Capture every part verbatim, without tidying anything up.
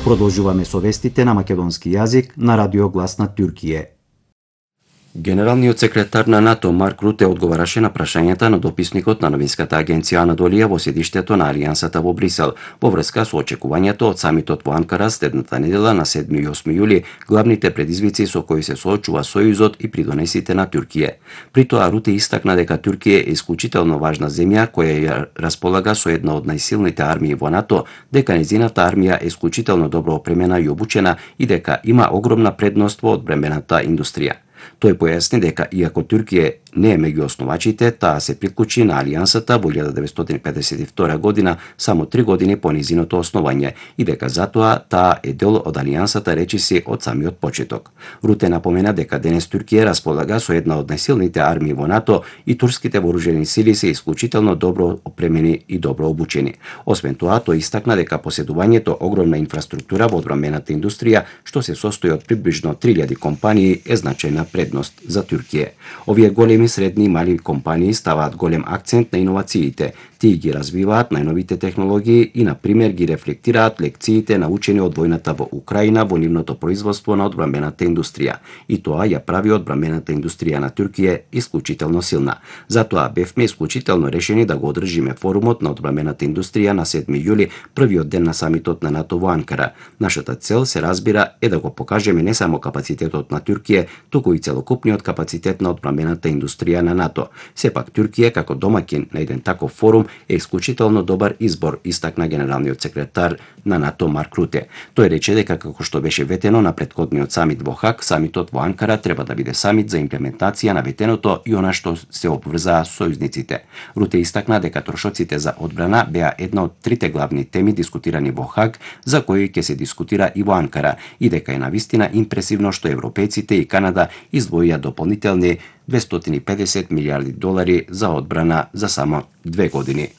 Продолжуваме со вестите на македонски јазик на Радио Глас на Туркије. Генералниот секретар на НАТО Марк Руте одговараше на прашањата на дописникот на новинската агенција Анадолија во седиштето на Алијансата во Брисел во врска со очекувањето од самитот во Анкара следната недела на седми и осми јули, главните предизвици со кои се соочува Сојузот и придонесите на Туркија. При тоа Руте истакна дека Туркија е исклучително важна земја која ја располага со една од најсилните армии во НАТО, дека нејзината армија е исклучително добро опремена и обучена и дека има огромна предност во одбрамбената индустрија. Тој појасни дека иако Туркија не е меѓу основачите, таа се приклучи на Алијансата во илјада деветстотини педесет и втора година, само три години по низиното основање, и дека затоа таа е дел од Алијансата речиси од самиот почеток. Руте напомена дека денес Туркија располага со една од најсилните армии во НАТО и турските вооружени сили се исклучително добро опремени и добро обучени. Освен тоа, тој истакна дека поседувањето огромна инфраструктура во одбрамбената индустрија, што се состои од приближно три илјади компании, е значајна предност за Туркија. Овие големи, средни и мали компании ставаат голем акцент на иновациите, тие ги развиваат најновите технологии и, на пример, ги рефлектираат лекциите научени од војната во Украина во нивното производство на одбрамбената индустрија. И тоа ја прави одбрамбената индустрија на Туркија исклучително силна. Затоа бевме исклучително решени да го одржиме форумот на одбрамбената индустрија на седми јули, првиот ден на самитот на НАТО во Анкара. Нашата цел, се разбира, е да го покажеме не само капацитетот на Туркија, туку и целокупниот капацитет на одбрамбената индустрија на НАТО. Сепак Туркија како домаќин на еден таков форум е исклучително добар избор, истакна генералниот секретар на НАТО Марк Руте. Тој рече дека како што беше ветено на претходниот самит во Хаг, самитот во Анкара треба да биде самит за имплементација на ветеното и она што се обврзаа сојузниците. Руте истакна дека трошоците за одбрана беа една од трите главни теми дискутирани во Хаг, за кои ќе се дискутира и во Анкара, и дека е навистина импресивно што европејците и Канада издвоија дополнителни двестоти и педесет милијарди долари за одбрана за само две години.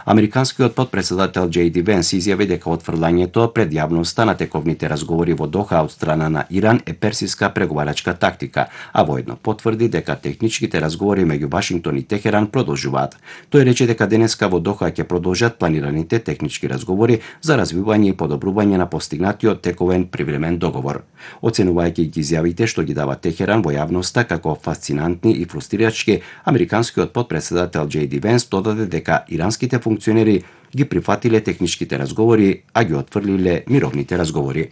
Американскиот потпредседател Џеј Ди Венс изјави дека отфрлањето пред јавноста на тековните разговори во Доха од страна на Иран е персиска преговарачка тактика, а воедно потврди дека техничките разговори меѓу Вашингтон и Техеран продолжуваат. Тој рече дека денеска во Доха ќе продолжат планираните технички разговори за развивање и подобрување на постигнатиот тековен привремен договор. Оценувајќи ги изјавите што ги дава Техеран во јавноста како фасцинантни и фрустрирачки, американскиот потпредседател Џеј Ди Венс додаде дека иранските функционери ги прифатиле техничките разговори, а ги отфрлиле мировните разговори.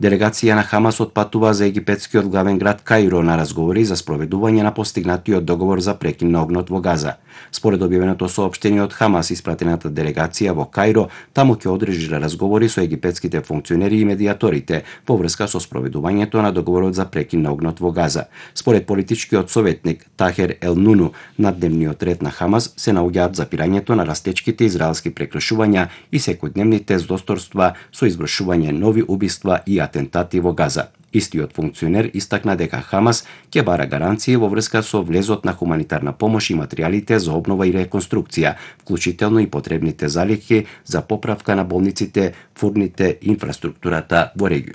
Делегација на Хамас отпатува за египетскиот главен град Каиро на разговори за спроведување на постигнатиот договор за прекин на огнот во Газа. Според објавеното соопштение од Хамас, испратената делегација во Каиро таму ќе одржи разговори со египетските функционери и медиаторите во врска со спроведувањето на договорот за прекин на огнот во Газа. Според политичкиот советник Тахер Ел Нуну, на дневниот ред на Хамас се наоѓаат запирањето на растечките израелски прекршувања и секојдневните здосторства со извршување нови убиства и атентати во Газа. Истиот функционер истакна дека Хамас ќе бара гаранции во врска со влезот на хуманитарна помош и материјалите за обнова и реконструкција, вклучително и потребните залихи за поправка на болниците, фурните, инфраструктурата во регионот.